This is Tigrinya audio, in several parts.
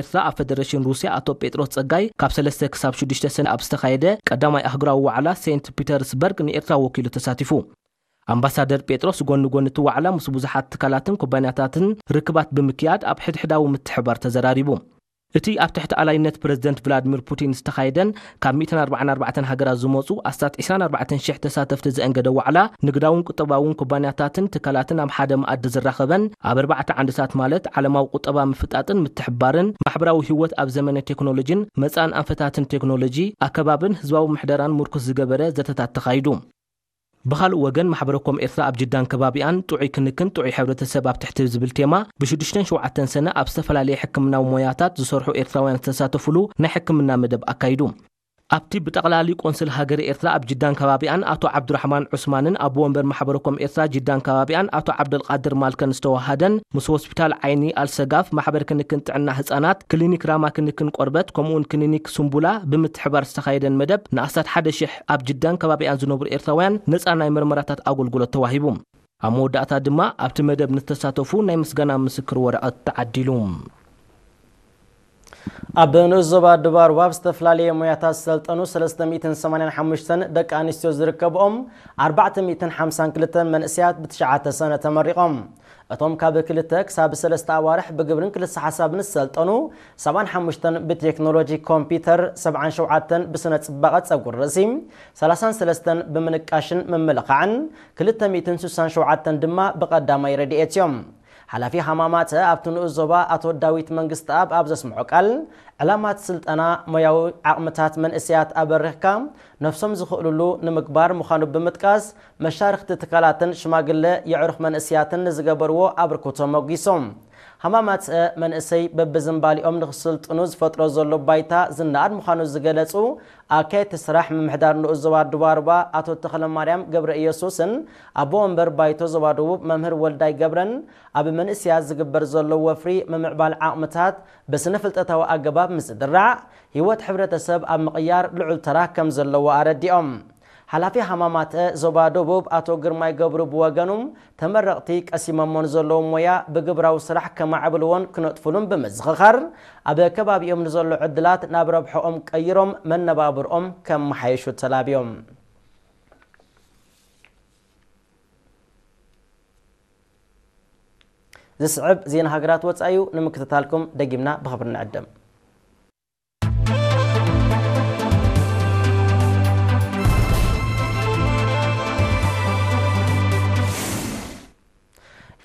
ኤርትራ ኣብ ፈደረሽን ሩስያ ኣቶ ጴጥሮስ ጸጋይ፣ ካብ ሰለስተ ክሳብ ሽዱሽተ ሰነ ኣብ ዝተኻየደ ቀዳማይ ኣህጉራዊ ዋዕላ ሴንት ፒተርስበርግ ንኤርትራ ወኪሉ ተሳቲፉ። ኣምባሳደር ጴጥሮስ፣ ጎኒ ጎኒ እቲ ዋዕላ፣ ምስ ብዙሓት ትካላትን ኩባንያታትን ርክባት ብምክያድ፣ ኣብ ሕድሕዳዊ ምትሕባር ተዘራሪቡ። እቲ ኣብ ትሕቲ ኣላይነት ፕረዚደንት ቭላድሚር ፑቲን ዝተኻየደን ካብ ሚእትን ኣርባዓን ኣርባዕተን ሃገራት ዝመጹ ኣስታት ዕስራን ኣርባዕተን ሽሕ ተሳተፍቲ ዘእንገደ ዋዕላ፣ ንግዳውን ቁጠባውን ኩባንያታትን ትካላትን ኣብ ሓደ መኣዲ ዝራኸበን፣ ኣብ ኣርባዕተ ዓንድታት፣ ማለት ዓለማዊ ቁጠባ ምፍጣጥን ምትሕባርን፣ ማሕበራዊ ህይወት ኣብ ዘመነ ቴክኖሎጂን መጻእን ኣንፈታትን ቴክኖሎጂ፣ ኣከባብን ህዝባዊ ምሕደራን ምርኩስ ዝገበረ ዘተታት ተኻይዱ። ብኻልእ ወገን፣ ማሕበረ ኮም ኤርትራ ኣብ ጅዳን ከባቢኣን፣ ጥዑይ ክንክን ጥዑይ ሕብረተሰብ ኣብ ትሕቲ ዝብል ቴማ፣ ብሽዱሽተን ሸውዓተን ሰነ ኣብ ዝተፈላለየ ሕክምናዊ ሞያታት ዝሰርሑ ኤርትራውያን ዝተሳተፉሉ ናይ ሕክምና መደብ ኣካይዱ። ኣብቲ ብጠቕላሊ ቆንስል ሃገረ ኤርትራ ኣብ ጅዳን ከባቢኣን ኣቶ ዓብዱራሕማን ዑስማንን ኣቦ ወንበር ማሕበረ ኮም ኤርትራ ጅዳን ከባቢኣን ኣቶ ዓብደልቃድር ማልከን ዝተወሃደን፣ ምስ ሆስፒታል ዓይኒ ኣልሰጋፍ፣ ማሕበር ክንክን ጥዕና ህጻናት፣ ክሊኒክ ራማ ክንክን ቆርበት፣ ከምኡውን ክሊኒክ ሱምቡላ ብምትሕባር ዝተኻየደን መደብ፣ ንኣስታት ሓደ ሽሕ ኣብ ጅዳን ከባቢኣን ዝነብሩ ኤርትራውያን ነጻ ናይ መርመራታት ኣገልግሎት ተዋሂቡ። ኣብ መወዳእታ ድማ ኣብቲ መደብ ንተሳተፉ ናይ ምስጋና ምስክር ወረቐት ተዓዲሉ። ኣብ ንኡስ ዞባ ዱባርዋ ኣብ ዝተፈላለየ ሞያታት ዝሰልጠኑ ሰለስተ ሚእትን ሰማንያን ሓሙሽተን ደቂ ኣንስትዮ ዝርከብኦም ኣርባዕተ ሚእትን ሓምሳን ክልተን መንእሰያት ብትሽዓተ ሰነ ተመሪቖም። እቶም ካብ ክልተ ክሳብ ሰለስተ ኣዋርሕ ብግብርን ክልሰ ሓሳብን ዝሰልጠኑ፣ ሰብዓን ሓሙሽተን ብቴክኖሎጂ ኮምፒውተር፣ ሰብዓን ሸውዓተን ብስነ ጽባቐ ጸጉሪ ርእሲ፣ ሰላሳን ሰለስተን ብምንቃሽን ምምልኻዕን፣ ክልተ ሚእትን ስሳን ሸውዓተን ድማ ብቐዳማይ ረድኤት እዮም። ሓላፊ ሃማማተ ኣብቲ ንኡስ ዞባ ኣቶ ዳዊት መንግስተኣብ ኣብ ዘስምዖ ቃል፣ ዕላማት ስልጠና ሞያዊ ዓቕምታት መንእሰያት ኣበሪኽካ ነፍሶም ዝኽእሉሉ ንምግባር ምዃኑ ብምጥቃስ፣ መሻርኽቲ ትካላትን ሽማግለ የዕሩኽ መንእሰያትን ንዝገበርዎ ኣበርክቶ ሞጊሶም። ሃማማተ መንእሰይ በብዝንባሊኦም ንክስልጥኑ ዝፈጥሮ ዘሎ ባይታ ዝነኣድ ምዃኑ ዝገለጹ ኣካየድቲ ስራሕ ምምሕዳር ንኡስ ዞባ ዱባርባ ኣቶ ተኽለማርያም ገብረ ኢየሱስን ኣቦ ወንበር ባይቶ ዞባ ደቡብ መምህር ወልዳይ ገብረን፣ ኣብ መንእሰያት ዝግበር ዘሎ ወፍሪ ምምዕባል ዓቕምታት ብስነ ፍልጠታዊ ኣገባብ ምስድራዕ፣ ህይወት ሕብረተሰብ ኣብ ምቕያር ልዑል ተራ ከም ዘለዎ ኣረዲኦም። ሓላፊ ሃማማተ ዞባ ደቡብ ኣቶ ግርማይ ገብሩ ብወገኑ፣ ተመረቕቲ ቀሲሞሞን ዘለዎም ሞያ ብግብራዊ ስራሕ ከማዕብልዎን ክነጥፉሉን ብምዝኽኻር፣ ኣብ ከባቢኦም ንዘሎ ዕድላት ናብ ረብሐኦም ቀይሮም መነባብርኦም ከመሓየሹ ተላብዮም። ዝስዕብ ዜና ሃገራት ወጻኢ እዩ። ንምክትታልኩም ደጊምና ብኽብሪ ንዕደም።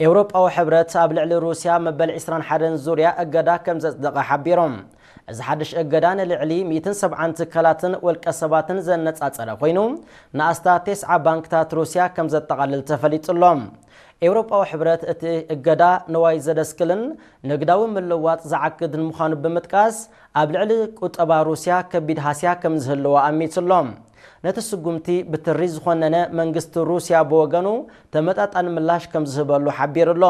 ኤውሮጳዊ ሕብረት ኣብ ልዕሊ ሩስያ መበል ዕስራን ሓደን ዙርያ እገዳ ከም ዘጽደቐ ሓቢሮም። እዚ ሓድሽ እገዳ ንልዕሊ ሚእትን ሰብዓን ትካላትን ውልቀ ሰባትን ዘነጻጸረ ኮይኑ፣ ንኣስታት ተስዓ ባንክታት ሩስያ ከም ዘጠቓልል ተፈሊጡ ኣሎ። ኤውሮጳዊ ሕብረት እቲ እገዳ ንዋይ ዘደስክልን ንግዳዊ ምልውዋጥ ዝዓግትን ምዃኑ ብምጥቃስ፣ ኣብ ልዕሊ ቁጠባ ሩስያ ከቢድ ሃስያ ከም ዝህልዎ ኣሚቱ ኣሎ። ነቲ ስጉምቲ ብትሪ ዝኾነነ መንግስቲ ሩስያ ብወገኑ ተመጣጣኒ ምላሽ ከም ዝህበሉ ሓቢሩ ኣሎ።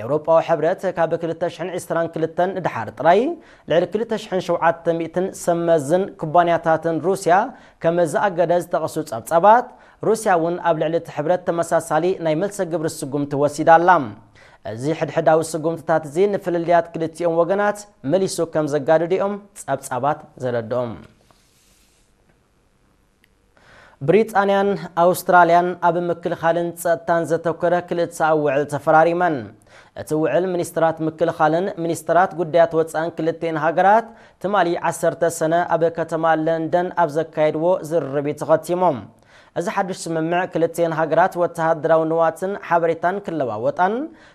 ኤውሮጳዊ ሕብረት ካብ ክልተ ሽሕን ዕስራን ክልተን ንደሓር ጥራይ ልዕሊ ክልተ ሽሕን ሸውዓተ ሚእትን ሰብ መዝን ኩባንያታትን ሩስያ ከም ዘኣገደ ዝጠቐሱ ጸብጻባት፣ ሩስያ እውን ኣብ ልዕሊ እቲ ሕብረት ተመሳሳሊ ናይ መልሰ ግብሪ ስጉምቲ ወሲዳ ኣላ። እዚ ሕድሕዳዊ ስጉምትታት እዚ ንፍልልያት ክልቲኦም ወገናት መሊሱ ከም ዘጋድድኦም ጸብጻባት ዘረድኦም። ብሪጣንያን ኣውስትራልያን ኣብ ምክልኻልን ጸጥታን ዘተኮረ ክልተኣዊ ውዕል ተፈራሪመን። እቲ ውዕል ሚኒስትራት ምክልኻልን ሚኒስትራት ጉዳያት ወጻእን ክልቲኤን ሃገራት ትማሊ ዓሰርተ ሰነ ኣብ ከተማ ለንደን ኣብ ዘካየድዎ ዝርርብ እዩ ተኸቲሞም። እዚ ሓድሽ ስምምዕ ክልቲኤን ሃገራት ወተሃደራዊ ንዋትን ሓበሬታን ክለዋወጣን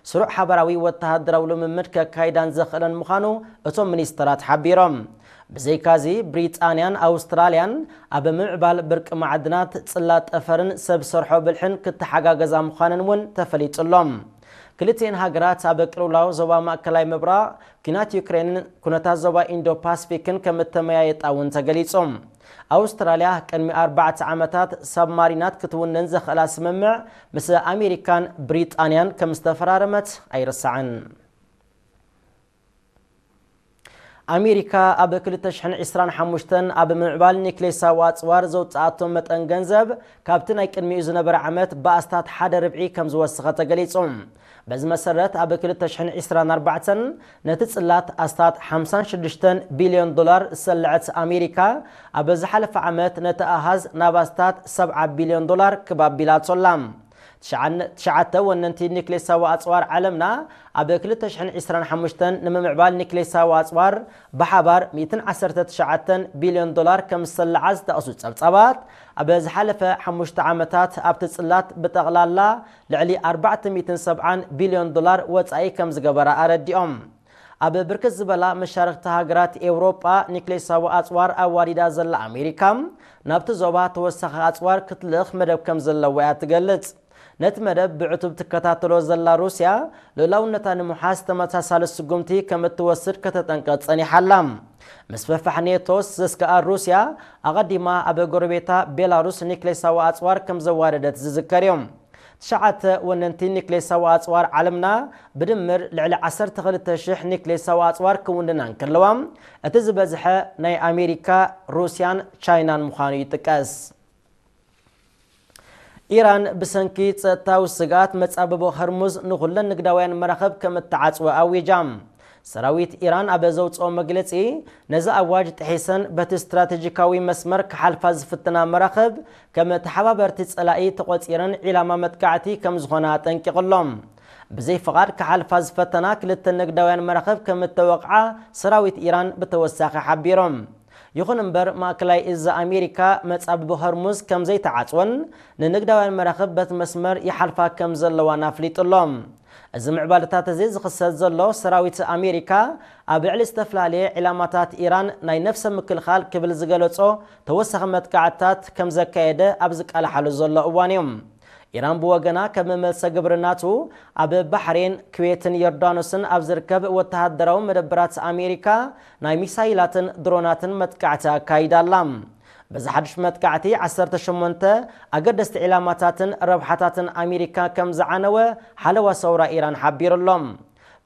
ስሩዕ ሓበራዊ ወተሃደራዊ ልምምድ ከካይዳን ዘኽእለን ምዃኑ እቶም ሚኒስትራት ሓቢሮም። ብዘይካዚ፣ ብሪጣንያን ኣውስትራልያን ኣብ ምምዕባል ብርቂ ማዕድናት፣ ጽላት ጠፈርን ሰብ ሰርሖ ብልሕን ክተሓጋገዛ ምዃነን እውን ተፈሊጡ ኣሎ። ክልቲኤን ሃገራት ኣብ ቅልውላው ዞባ ማእከላይ ምብራቕ፣ ኲናት ዩክሬንን ኩነታት ዞባ ኢንዶ ፓስፊክን ከም እተመያየጣ እውን ተገሊጹ። ኣውስትራልያ ቅድሚ ኣርባዕተ ዓመታት ሳብማሪናት ክትውንን ዘኽእላ ስምምዕ ምስ ኣሜሪካን ብሪጣንያን ከም ዝተፈራረመት ኣይርሳዕን። ኣሜሪካ ኣብ ክልተ ሽሕን ዕስራን ሓሙሽተን ኣብ ምምዕባል ኒክሌሳዊ ኣጽዋር ዘውጽኣቶ መጠን ገንዘብ ካብቲ ናይ ቅድሚኡ ዝነበረ ዓመት ብኣስታት ሓደ ርብዒ ከም ዝወሰኸ ተገሊጹ። በዚ መሰረት ኣብ ክልተ ሽሕን ዕስራን ኣርባዕተን ነቲ ጽላት ኣስታት ሓምሳን ሽዱሽተን ቢልዮን ዶላር ዝሰለዐት ኣሜሪካ ኣብ ዝሓለፈ ዓመት ነቲ ኣሃዝ ናብ ኣስታት ሰብዓ ቢልዮን ዶላር ክብ ኣቢላቶ ኣላ። ትሽዓተ ወነንቲ ኒክሌሳዊ ኣጽዋር ዓለምና ኣብ ክልተ ሽሕን ዕስራን ሓሙሽተን ንምምዕባል ኒክሌሳዊ ኣጽዋር ብሓባር ሚእትን ዓሰርተ ትሽዓተን ቢልዮን ዶላር ከም ዝሰለዓ ዝጠቕሱ ጸብጻባት፣ ኣብ ዝሓለፈ ሓሙሽተ ዓመታት ኣብቲ ጽላት ብጠቕላላ ልዕሊ ኣርባዕተ ሚእትን ሰብዓን ቢልዮን ዶላር ወጻኢ ከም ዝገበራ ኣረዲኦም። ኣብ ብርክት ዝበላ መሻርኽቲ ሃገራት ኤውሮጳ ኒክሌሳዊ ኣጽዋር ኣዋዲዳ ዘላ ኣሜሪካ፣ ናብቲ ዞባ ተወሳኺ ኣጽዋር ክትልእኽ መደብ ከም ዘለዋ እያ ትገልጽ። ነቲ መደብ ብዕቱብ ትከታተሎ ዘላ ሩስያ፣ ልኡላውነታ ንምውሓስ ተመሳሳሊ ስጉምቲ ከም እትወስድ ከተጠንቅቕ ጸኒሓ ኣላ። ምስፍሕፋሕ ኔቶስ ዘስግኣ ሩስያ፣ ኣቐዲማ ኣብ ጎረቤታ ቤላሩስ ኒክሌሳዊ ኣጽዋር ከም ዘዋደደት ዝዝከር እዩ። ትሽዓተ ወነንቲ ኒክሌሳዊ ኣጽዋር ዓለምና ብድምር ልዕሊ ዓሰርተ ክልተ ሽሕ ኒክሌሳዊ ኣጽዋር ክውንና እንከለዋ፣ እቲ ዝበዝሐ ናይ ኣሜሪካ፣ ሩስያን ቻይናን ምዃኑ ይጥቀስ። ኢራን ብሰንኪ ጸጥታዊ ስግኣት መጻብቦ ሆርሙዝ ንኹለን ንግዳውያን መራኽብ ከም እተዓጽወ ኣዊጃ። ሰራዊት ኢራን ኣብ ዘውጽኦ መግለጺ፣ ነዚ ኣዋጅ ጥሒሰን በቲ ስትራቴጂካዊ መስመር ክሓልፋ ዝፍትና መራኽብ ከም ተሓባበርቲ ጸላኢ ተቖጺረን ዒላማ መጥቃዕቲ ከም ዝኾና ኣጠንቂቑ ኣሎ። ብዘይ ፍቓድ ክሓልፋ ዝፈተና ክልተ ንግዳውያን መራኽብ ከም እተወቕዓ ሰራዊት ኢራን ብተወሳኺ ሓቢሮም። ይኹን እምበር፣ ማእከላይ እዝ ኣሜሪካ መጻብቦ ሆርሙዝ ከም ዘይተዓጽወን ንንግዳውያን መራኽብ በቲ መስመር ይሓልፋ ከም ዘለዋን ኣፍሊጡ ኣሎ። እዚ ምዕባለታት እዚ ዝኽሰት ዘሎ፣ ሰራዊት ኣሜሪካ ኣብ ልዕሊ ዝተፈላለየ ዒላማታት ኢራን ናይ ነፍሰ ምክልኻል ክብል ዝገለጾ ተወሳኺ መጥቃዕትታት ከም ዘካየደ ኣብ ዝቃላሓሉ ዘሎ እዋን እዩ። ኢራን ብወገና፣ ከም መመልሰ ግብሪ ናቱ፣ ኣብ ባሕሬን፣ ኩዌትን ዮርዳኖስን ኣብ ዝርከብ ወተሃደራዊ መደበራት ኣሜሪካ ናይ ሚሳይላትን ድሮናትን መጥቃዕቲ ኣካይዳ ኣላ። በዚ ሓድሽ መጥቃዕቲ፣ ዓሰርተ ሸሞንተ ኣገደስቲ ዒላማታትን ረብሓታትን ኣሜሪካ ከም ዝዓነወ ሓለዋ ሰውራ ኢራን ሓቢሩ ኣሎ።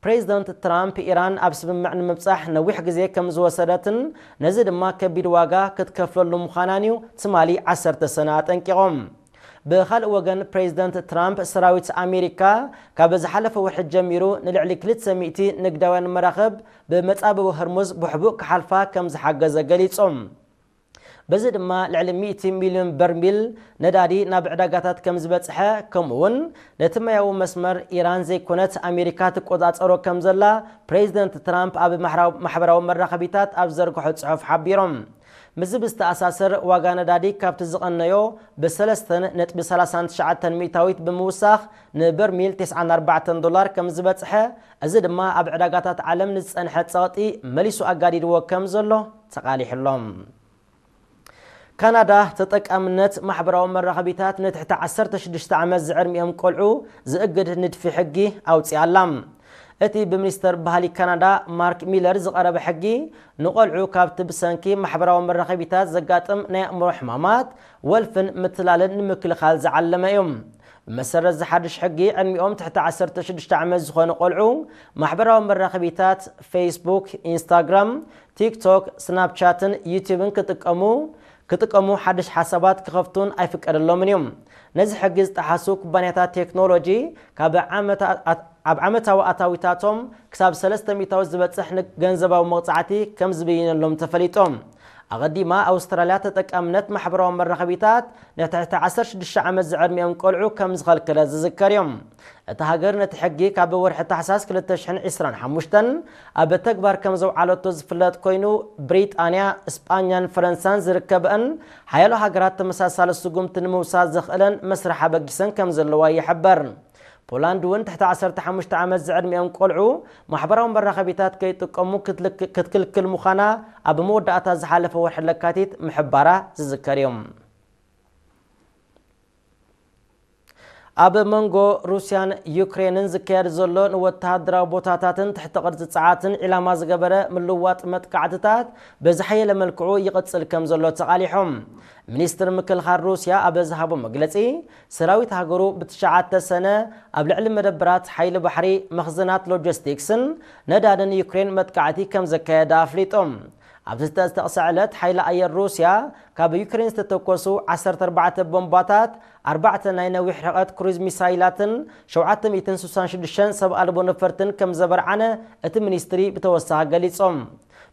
ፕሬዚደንት ትራምፕ፣ ኢራን ኣብ ስምምዕ ንምብጻሕ ነዊሕ ግዜ ከም ዝወሰደትን ነዚ ድማ ከቢድ ዋጋ ክትከፍለሉ ምዃናን እዩ ትማሊ ዓሰርተ ሰነ ኣጠንቂቖም። ብኻልእ ወገን፣ ፕሬዚደንት ትራምፕ፣ ሰራዊት ኣሜሪካ ካብ ዝሓለፈ ወርሒ ጀሚሩ ንልዕሊ ክልተ ሚእቲ ንግዳውያን መራኽብ ብመጻብቦ ሆርሙዝ ብሕቡእ ክሓልፋ ከም ዝሓገዘ ገሊጾም። በዚ ድማ ልዕሊ ሚእቲ ሚልዮን በርሚል ነዳዲ ናብ ዕዳጋታት ከም ዝበጽሐ፣ ከምኡ እውን ነቲ ማያዊ መስመር ኢራን ዘይኮነት ኣሜሪካ ትቆጻጸሮ ከም ዘላ ፕሬዚደንት ትራምፕ ኣብ ማሕራው-፣ ማሕበራዊ መራኸቢታት ኣብ ዘርግሖ ጽሑፍ ሓቢሮም። ምስዚ ብዝተኣሳሰር፣ ዋጋ ነዳዲ ካብቲ ዝቐነዮ ብሰለስተ ነጥቢ ሰላሳን ትሽዓተን ሚእታዊት ብምውሳኽ ንበርሚል ተስዓን ኣርባዕተን ዶላር ከም ዝበጽሐ፣ እዚ ድማ ኣብ ዕዳጋታት ዓለም ንዝጸንሐ ጸቕጢ መሊሱ ኣጋዲድዎ ከም ዘሎ ተቓሊሑ ኣሎ። ካናዳ ተጠቃምነት ማሕበራዊ መራኸቢታት ንትሕቲ ዓሰርተ ሽዱሽተ ዓመት ዝዕድሚኦም ቆልዑ ዝእግድ ንድፊ ሕጊ ኣውጺኣ ኣላ። እቲ ብሚኒስተር ባህሊ ካናዳ ማርክ ሚለር ዝቐረበ ሕጊ፣ ንቆልዑ ካብቲ ብሰንኪ ማሕበራዊ መራኸቢታት ዘጋጥም ናይ ኣእምሮ ሕማማት፣ ወልፍን ምትላልን ንምክልኻል ዝዓለመ እዩ። ብመሰረት እዚ ሓድሽ ሕጊ፣ ዕድሚኦም ትሕቲ ዓሰርተ ሽዱሽተ ዓመት ዝኾኑ ቆልዑ፣ ማሕበራዊ መራኸቢታት ፌስቡክ፣ ኢንስታግራም፣ ቲክቶክ፣ ስናፕቻትን ዩቲዩብን ክጥቀሙ፣ ክጥቀሙ ሓድሽ ሓሳባት ክኸፍቱን ኣይፍቀደሎምን እዩ። ነዚ ሕጊ ዝጠሓሱ ኩባንያታት ቴክኖሎጂ፣ ካብ ዓመታ-፣ ኣብ ዓመታዊ ኣታዊታቶም ክሳብ ሰለስተ ሚእታዊ ዝበጽሕ ን-፣ ገንዘባዊ መቕጻዕቲ ከም ዝብይነሎም ተፈሊጦም። ኣቐዲማ፣ ኣውስትራልያ ተጠቃምነት ማሕበራዊ መራኸቢታት ንትሕቲ ዓሰርተ ሽዱሽተ ዓመት ዝዕድሚኦም ቆልዑ ከም ዝኸልከለት ዝዝከር እዩ። እታ ሃገር ነቲ ሕጊ ካብ ወርሒ ታሕሳስ ክልተ ሽሕን ዕስራን ሓሙሽተን ኣብ ተግባር ከም ዘውዓለቶ ዝፍለጥ ኮይኑ፣ ብሪጣንያ፣ እስጳኛን ፈረንሳን ዝርከበአን ሓያሎ ሃገራት ተመሳሳሊ ስጉምቲ ንምውሳድ ዘኽእለን መስርሕ ኣበጊሰን ከም ዘለዋ ይሕበር። ፖላንድ እውን ትሕቲ ዓሰርተ ሓሙሽተ ዓመት ዝዕድሚኦም ቆልዑ ማሕበራዊ መራኸቢታት ከይጥቀሙ ክትልክ-፣ ክትክልክል ምዃና ኣብ መወዳእታ ዝሓለፈ ወርሒ ለካቲት ምሕባራ ዝዝከር እዩ። ኣብ መንጎ ሩስያን ዩክሬንን ዝካየድ ዘሎ ንወተሃደራዊ ቦታታትን ትሕቲ ቅርጺ ጸዓትን ዒላማ ዝገበረ ምልዋጥ መጥቃዕትታት ብዝሓየለ መልክዑ ይቕጽል ከም ዘሎ ተቓሊሖም። ሚኒስትር ምክልኻል ሩስያ ኣብ ዝሃቦ መግለጺ፣ ሰራዊት ሃገሩ ብትሽዓተ ሰነ ኣብ ልዕሊ መደበራት ሓይሊ ባሕሪ፣ መኽዘናት ሎጂስቲክስን ነዳድን ዩክሬን መጥቃዕቲ ከም ዘካየደ ኣፍሊጦም። ኣብዚ ዝተጠቕሰ ዕለት ሓይሊ ኣየር ሩስያ ካብ ዩክሬን ዝተተኮሱ ዓሰርተ ኣርባዕተ ቦምባታት፣ ኣርባዕተ ናይ ነዊሕ ርሕቀት ክሩዝ ሚሳይላትን ሸውዓተ ሚእትን ስሳን ሽዱሽተን ሰብ ኣልቦ ነፈርትን ከም ዘበርዓነ እቲ ሚኒስትሪ ብተወሳኺ ገሊጾም።